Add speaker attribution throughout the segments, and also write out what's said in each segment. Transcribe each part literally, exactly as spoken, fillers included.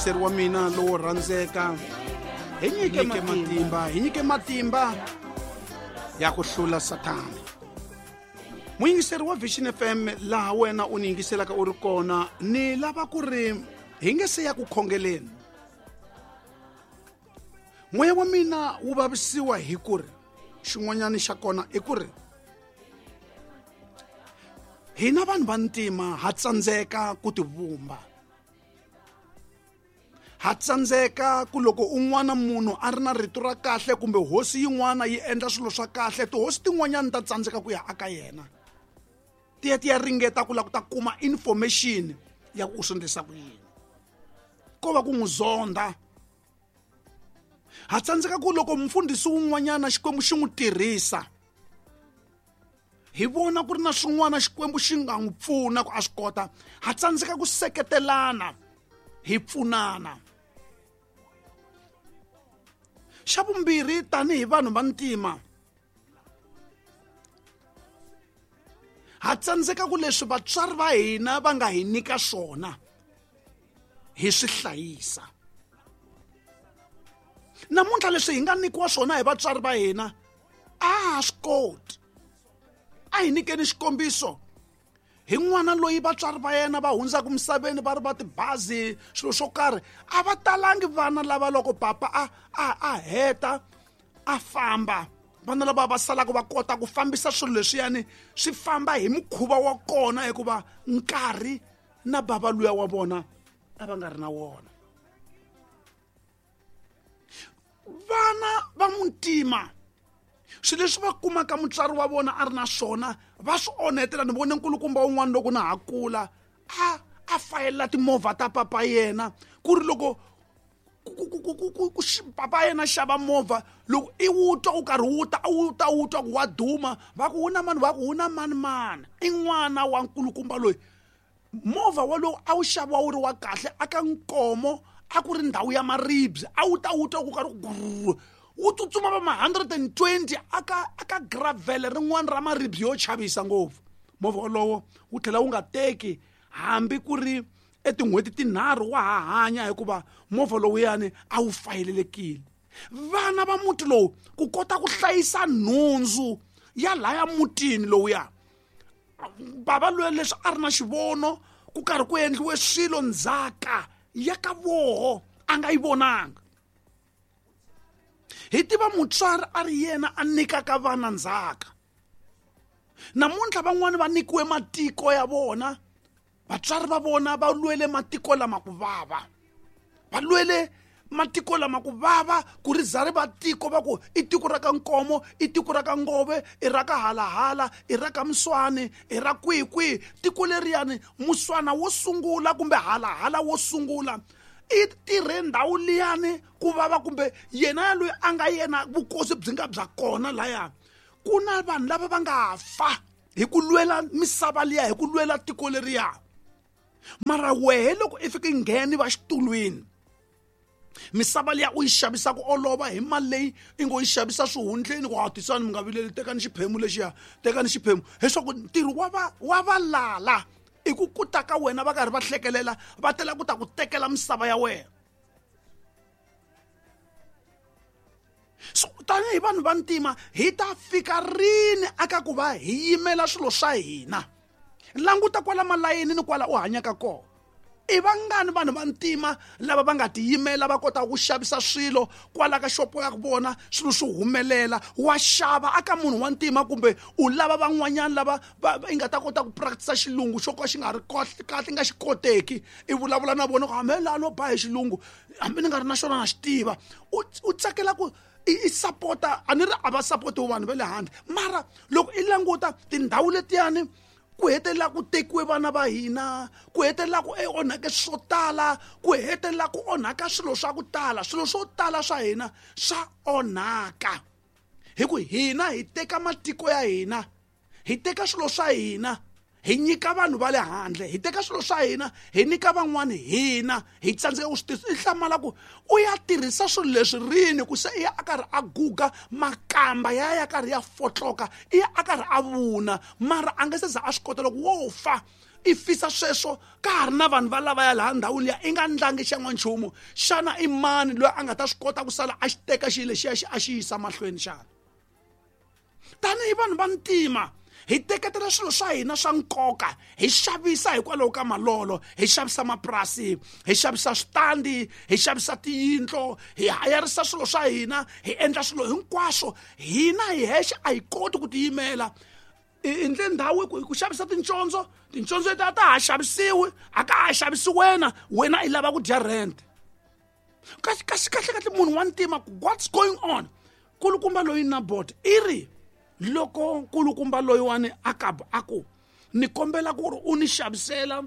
Speaker 1: Muyingiseri wa mina lowo rhandzeka, hi nyike matimba, hi nyike matimba ya ku hlula Sathana. Muyingiseri wa Vision F M, laha wena u ni yingiselaka u ri kona, ni lava ku ri hi nge se ya ku khongeleni. Moya wa mina wu vavisiwa hi ku ri xin'wanyana xa kona i ku ri hina vanhu va ntima ha tsandzeka ku tivumba. Ha tsandzeka ku loko un'wana munhu a ri na rito ra kahle kumbe hosi yin'wana yi endla swilo swa kahle, tihosi tin'wanyana ta tsandzeka ku ya aka yena. Ti ya ti ya ringeta ku lava ku ta kuma information ya ku u swi endlisa ku yini. Ko va ku n'wi zonda. Ha tsandzeka ku loko mfundhisi wun'wanyana Xikwembu xi n'wi tirhisa, hi vona ku ri na swin'wana Xikwembu xi nga n'wi pfuna ku a swi kota. Ha tsandzeka ku seketelana, hi pfunana. Xa vumbirhi, tanihi vanhu va ntima, ha tsandzeka ku leswi vatswari va hina va nga hi nyika swona hi swi hlayisa. Namuntlha leswi hi nga nyikiwa swona hi vatswari va hina a ha swi koti. A hi nyikeni xikombiso hi n'wana loyi vatswari va yena va hundzaka misaveni va ri va tibazi, swilo swo karhi. A va talangi vana lava loko papa a, a, a heta a famba, vana lava va salaka va kota ku fambisa swilo leswiyani swi famba hi mukhuva wa kona, hikuva nkarhi na bava luya wa vona a va nga ri na wona. Vana va muntima swilo leswi va kumaka mutswari wa vona a ri na swona va swi onhetela. Ni vone nkulukumba wun'wana loko na ha kula a a fayela timovha ta papa yena, ku ri loko papa yena xava movha, loko i wu twa u karhi wu ta wu ta wu twa ku wa duma, va ku wu na mani, va ku wu na mani mani, i n'wana wa nkulukumba loyi. Movha walowu a wu xaviwa wu ri wa kahle aka Nkomo, a ku ri ndhawu ya maribye, a wu ta wu twa ku karhi ku wu tsutsuma va ma hundred and twenty aka aka gravel rin'wana ra maribye yo chavisa ngopfu. Movha wolowo wu tlhela wu nga teki hambi ku ri etin'hweti tinharhu wa ha hanya, hikuva movha lowuyani a wu fayelelekile. Vana va muti lowu ku kota ku hlayisa nhundzu ya laya mutini lowuya, bava loyi leswi a ri na xivono ku karhi ku endliwe swilo ndzhaka ya ka voho a nga yi vonanga. Hi tiva mutswari a ri yena a nyikaka vana ndzhaka. Namuntlha van'wani va nyikiwe matiko ya vona, vatswari va vona va lwele matiko lama ku vava, va lwele matiko lama ku vava ku ri za ri va tiko, va ku i tiko ra ka Nkomo, i tiko ra ka Ngove, i ra ka Halahala, i ra ka Muswani, i ra kwihi kwihi. Tiko leriyani Muswana wo sungula kumbe Halahala wo sungula i tirhe ndhawu liyani ku vava, kumbe yena loyi a nga yena vukosi byi nga bya kona laya. Ku na vanhu lava va nga fa hi ku lwela misava liya, hi ku lwela tiko leriya. Mara wehe loko i fika i ngheni va xitulwini, misava liya u yi xavisa ku olova hi mali leyi i ngo yi xavisa swihundleni, ku hatisani mi nga vileli, tekani xiphemu lexiya, tekani xiphemu. Leswaku ntirho wa va wa valala i ku kuta ka wena va karhi va hlekelela, va tela ku ta ku tekela misava ya wena. So tanihi vanhu va ntima hi ta fika rini aka ku va hi yimela swilo swa hina? Languta kwala malayini ni kwala u hanyaka kona. I vangani vanhu va ntima lava va nga tiyimela va kota ku xavisa swilo kwala ka xopo ya vona, swilo swi humelela, wa xava aka munhu wa ntima, kumbe u lava van'wanyana lava va i nga ta kota ku practice xilungu xo ka xi nga ri kahle, nga xi koteki, i vulavula na vona ku hambi laha no ba hi xilungu hambi ni nga ri na xona na xi tiva. U u tsakela ku i sapota, a ni ri a va sapoti vanhu va le handle, mara loko i languta tindhawu letiyani ku hetelela ku tekiwe vana va hina, ku hetelela ku onhake swo tala, ku hetelela ku onhaka swilo swa ku tala, swilo swo tala swa hina swa onhaka. Hi ku hina hi teka matiko ya hina, hi teka swilo swa hina, hi nyika vanhu va le handle, hi teka swilo swa hina hi nyika van'wani, hina hi tsandzeka ku swi tirhisa. I hlamala ku u ya tirhisa swilo leswi rini, ku se i ya a karhi a guga, makamba ya ya karhi ya fotloka, i ya a karhi a vuna, mara a nga se za a swi kota loko wo fa. I fisa sweswo ka ha ri na vanhu va lavaya laha ndhawini liya i nga ndlangi xan'wanchumu. Xana i mani loyi a nga ta swi kota ku sala a xi teka xilo lexiya xi a xi yisa mahlweni xana? Tanihi vanhu va ntima hi teketela swilo swa hina swa nkoka, hi xavisa hikwalaho ka malolo, hi xavisa mapurasi, hi xavisa switandi, hi xavisa tiyindlo, hi hayarisa swilo swa hina, hi endla swilo hinkwaswo. Hina hi hexe a hi koti ku tiyimela. I endle ndhawu ku xavisa tincondzo, tincondzo leti a ta ha xavisiwi, a ka ha xavisi wena, wena i lava ku dya rent. Kasi kasi kahle kahle munhu wa ntima, what's going on? Nkulukumba loyi Nabot i ri loko nkulukumba loyiwani Akabu a ku ni kombela ku ri u ni xavisela,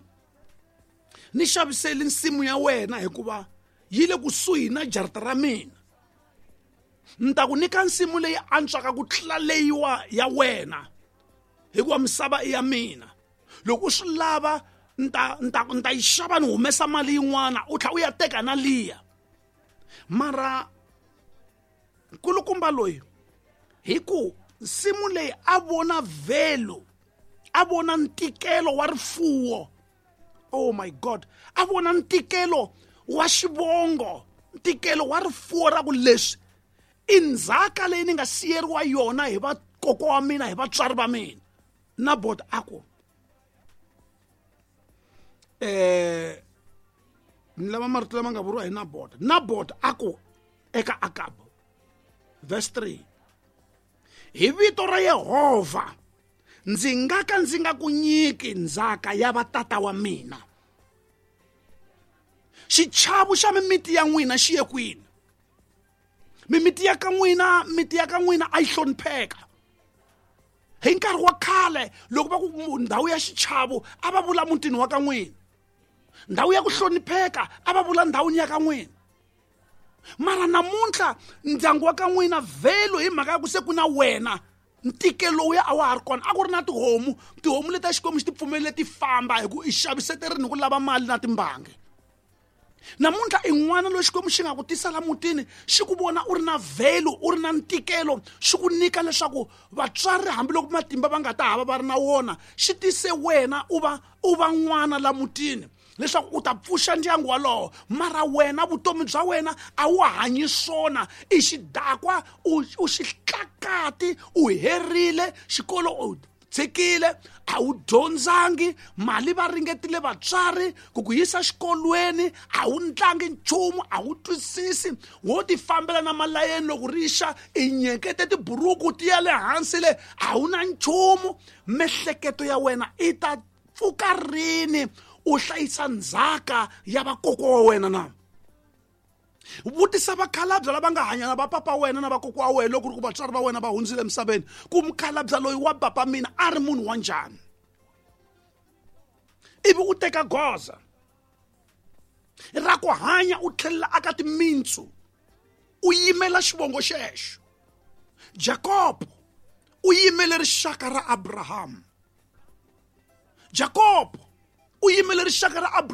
Speaker 1: ni xaviseli nsimu ya wena hikuva yi le kusuhi na jarata ra mina, ni ta ku nyika nsimu leyi antswaka ku tlula leyiwa ya wena hikuva misava i ya mina. Loko u swi lava ni ta ni ta ni ta yi xava ni humesa mali yin'wana u tlhela u ya teka na liya. Mara nkulukumba loyi hi ku nsimu leyi a vona value, a vona ntikelo wa rifuwo, oh my God, a vona ntikelo wa xivongo, ntikelo wa rifuwo ra ku leswi i ndzhaka leyi ni nga siyeriwa yona hi vakokwa wa mina, hi vatswari va mina. Nabot a ku eh ni lava marito lama nga vuriwa hi Nabot. Nabot a ku eka Akabu, verse three, hi vito ra Yehovha ndzi nga ka ndzi nga ku nyiki ndzhaka ya vatata wa mina. Xichavo xa mimiti ya n'wina xi ye kwini? Mimiti ya ka n'wina, miti ya ka n'wina a yi hlonipheka. Hi nkarhi wa khale loko va ku ndhawu ya xichavo a va vula mutini wa ka n'wina, ndhawu ya ku hlonipheka a va vula ndhawini ya ka n'wina. Mara namuntlha ndyangu wa ka n'wina vhelo hi mhaka ya ku se ku na wena ntikelo lowuya a wa ha ri kona. A ku ri na tihomu, tihomu leti ta Xikwembu xi ti pfumelele ti famba hi ku i xaviseterini hi ku lava mali na timbangi. Namuntlha i n'wana loyi Xikwembu xi nga ku tisa la mutini, xi ku vona u ri na value, u ri na ntikelo, xi ku nyika leswaku vatswari hambiloko matimba va nga ta hava va ri na wona, xi tise wena u va u va n'wana la mutini leswaku u ta pfuxa ndyangu walowo. Mara wena vutomi bya wena a wu hanyi swona, i xidakwa, u u xihlakati, u herile xikolo, u tshikile, a wu dyondzangi, mali va ringetile vatswari ku ku yisa xikolweni, a wu ntlangi nchumu, a wu twisisi, wo ti fambela na malayeni loko ri xa i nyekete tiburuku ti ya le hansi le, a wu na nchumu. Mehleketo ya wena i ta pfuka rini u hlayisa ndzhaka ya vakokwa wa wena na? Vutisa vakhalabya lava nga hanya na vapapa wena na vakokwa wa wena loko ri ku vatswari va wena va hundzile emisaveni, ku mukhalabya loyi wa papa mina a ri munhu wa njhani, ivi u teka goza ra ku hanya u tlhelela aka timintsu, u yimela xivongo xexo. Jakobo u yimele rixaka ra Abraham. Jakobo u yimele rixaka ra Abraham.